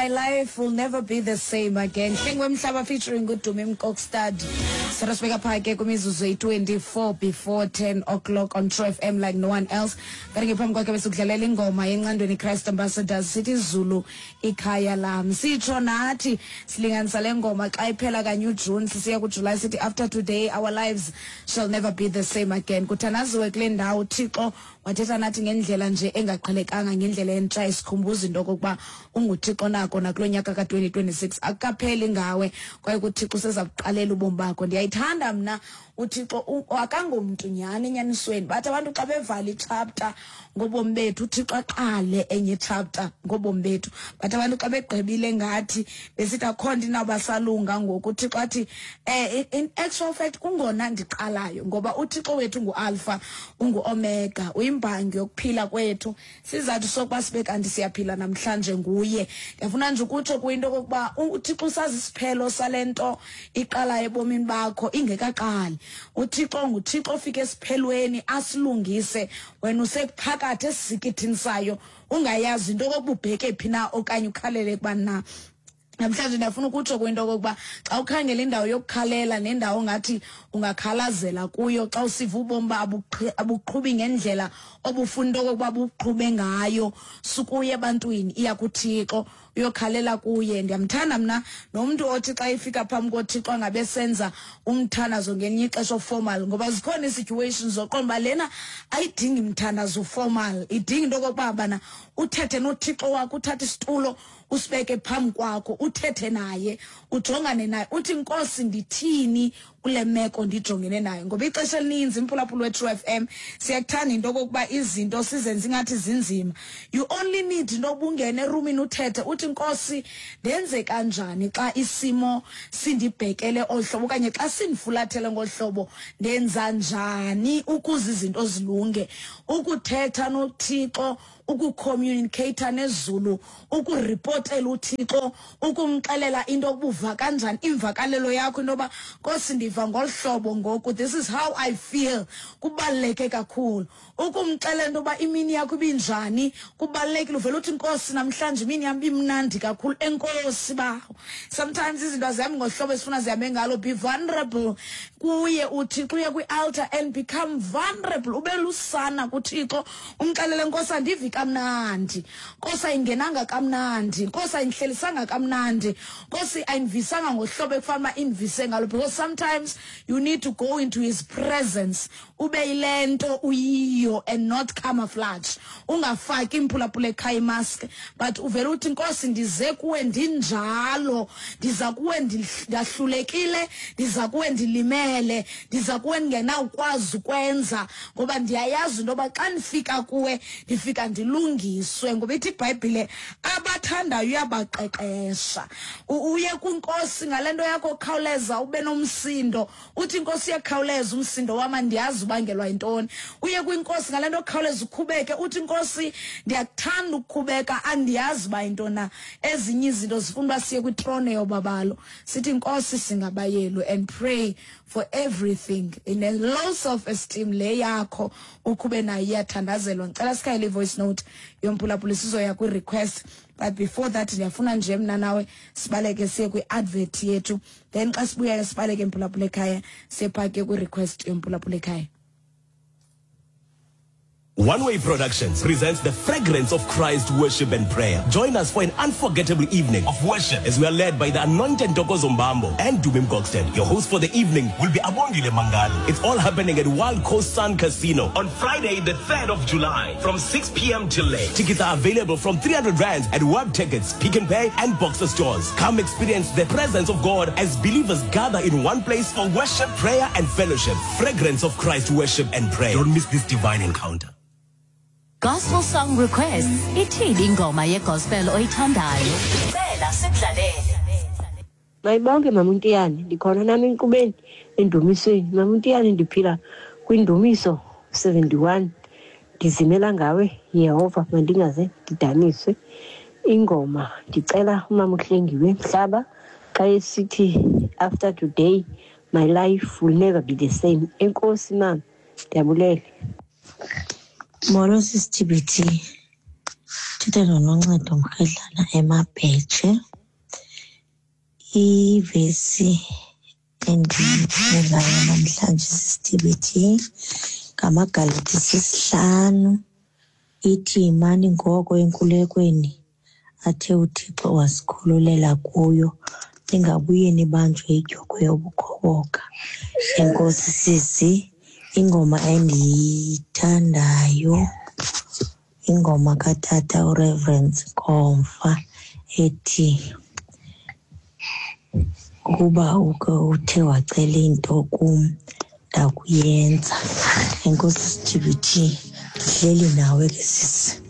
My life will never be the same again. Hlengwe Mhlaba featuring uDumi Mkokstad. Sara sibeka pha ke kwimizuzu eyi-24 before 10 o'clock on True FM like no one else. Kanti ke phambi kwakhe besikudlalela ingoma yeNcandweni Christ Ambassadors sithi Zulu ikhaya lam. Sitsho nathi silinganisa le ngoma xa iphela kanye uJune sisiya kuJuly sithi after today our lives shall never be the same again. Kuthandaziwe kule ndawo Thixo Wathetha nathi ngendlela nje engaqhelekanga, ngendlela entsha, esikhumbuza into okokuba unguThixo nako nakulo nyaka ka-2026. Akukapheli ngawe kwaye kuThixo useza kuqalela ubomi bakho. Ndiyayithanda mna uThixo, akangomntu nyhani enyanisweni. Bathi abantu xa bevala ichapta ngobomi bethu, uThixo aqale enye ichapta ngobomi bethu. Bathi abantu xa begqibile ngathi besithi akho nto inawubasalunga ngoku, uThixo athi in actual fact kungona ndiqalayo, ngoba uThixo wethu nguAlpha unguOmega, uyimbangi yokuphila kwethu. Sizathu sokuba sibe kanti siyaphila namhlanje nguye. Ndiyafuna nje ukutsho kuyinto okokuba uThixo usazi isiphelo sale nto iqalayo ebomini bakho ingekaqali. UThixo nguThixo ofika esiphelweni asilungise, wena usekuphakathi esisikithini sayo ungayazi into okokuba ubheke phi na okanye ukhalele kubani na. Namhlanje ndiyafuna ukutsho kwinto okokuba xa ukhangela indawo yokukhalela nendawo ongathi ungakhalazela kuyo xa usiva ubomi uba abuqhubi ngendlela obufuna into okokuba buqhube ngayo, sukuya ebantwini, iya kuThixo uyokhalela kuye. Ndiyamthanda mna nomntu othi xa efika phambi koThixo angabe senza umthandazo ngelinye ixesha oformal, ngoba zikhona ii-situations zoqonda uba lena ayidingi mthandazo formal, idinga into okokuba bana uthethe noThixo wakho, uthathe isitulo usibeke phambi kwakho, uthethe naye, ujongane naye, uthi Nkosi ndithini kule meko ndijongene nayo. Ngoba ixesha elininzi imphulaphula weTrue FM siyakuthanda into okokuba izinto sizenze ingathi zinzima. You only need into yokuba ungene erumini uthethe uthi Nkosi ndenze kanjani xa isimo sindibhekele olu hlobo okanye xa sindifulathele ngolu hlobo, ndenza njani ukuze izinto zilunge. Ukuthetha noThixo, ukucommunicata nezulu, ukuripotela uThixo, ukumxelela into yokuba uva kanjani, imvakalelo yakho into yoba Nkosi ndiva ngolu hlobo ngoku, this is how I feel, kubaluleke kakhulu. Ukumxelela into yoba imini yakho ibinjani kubalulekile. Uvele uthi Nkosi namhlanje imini yam ibimnandi kakhulu, enkosi bawo. Sometimes izinto azihambi ngohlobo esifuna zihambe ngalo. Be vulnerable kuye uThixo, uye kwi-altar and become vulnerable, ube lusana kuThixo, umxelele Nkosi andivi kamnandi, Nkosi ayingenanga kamnandi, Nkosi ayindihlelisanga kamnandi, Nkosi ayindivisanga ngohlobo ekufanele uba indivise ngalo. Because sometimes you need to go into his presence, ube yile nto uyiyo and not camouflage. Ungafaki imphulaphula ekhaya imask, but uvele uthi Nkosi ndize kuwe ndinjalo, ndiza kuwe ndahlulekile, ndiza kuwe ndilimele, ndiza kuwe ndingenawukwazi ukwenza, ngoba ndiyayazi into yoba xa ndifika kuwe ndifika ndilungiswe. Ngoba ithi iBhayibhile abathandayo uyabaqeqesha. Uye kwiNkosi ngale nto yakho khawuleza ube nomsindo, uthi iNkosi iyakhawuleza umsindo wam andiyazi ubangelwa yintoni. Uye kwiNkosi ngale nto khawuleza ukhubeke, uthi iNkosi ndiyakuthanda ukukhubeka andiyazi uba yintoni na. Ezinye izinto zifuna uba siye kwitrone yobabalo, sithi Nkosi singabayelu, and pray for everything. In a low self-esteem le yakho ukhube nayo iyathandazelwa. Ngicela sikhayele i-voice note yomphulaphula, sizoya kwi-request, but before that ndiyafuna nje mna nawe sibaleke siye kwi-advert yethu, then xa sibuyayo sibaleke mphulaphula ekhaya siye phaa ke kwi-request yomphulaphula ekhaya. One Way Productions presents the Fragrance of Christ Worship and Prayer. Join us for an unforgettable evening of worship as we are led by the anointed Ntokozo Mbambo and Dumi Mkokstad. Your host for the evening will be Abongile Mangali. It's all happening at Wild Coast Sun Casino on Friday, the 3rd of July from 6 p.m. till late. Tickets are available from 300 Rands at Web Tickets, Pick n Pay and Boxer stores. Come experience the presence of God as believers gather in one place for worship, prayer and fellowship. Fragrance of Christ Worship and Prayer. Don't miss this divine encounter. Gospel song requests. Ithini ingoma yegospel oyithandayo? Cela sikudlalele. Mayibonke mama uNtiyane, ndikhona nami enkqubeni endumisweni. Mama uNtiyane, ndiphila kwindumiso 71. Ndizimela ngawe Yehova, mandingaze ndidaniswe. Ingoma ndicela umama uHlengiwe Mhlaba xa esithi after today my life will never be the same. Enkosi mama, ndiyabulele. Molo sisi TBT. Uthetha noNoncedo Mrhedlana eMabhetshe. Ivesi endiyifundayo namhlanje sisithibithi ngamaGalati sisihlanu ithi yimani ngoko enkulekweni athe uThixo wasikhululela kuyo ningabuye nibanjwe idyokhwe yobukhoboka. Enkosi sisi, ingoma endiyithandayo ingoma katata uReverend Nkomfa ethi ukuba uke uthe wacela into kum ndakuyenza. Enkosi sithibithe, ndihleli nawe ke sisi.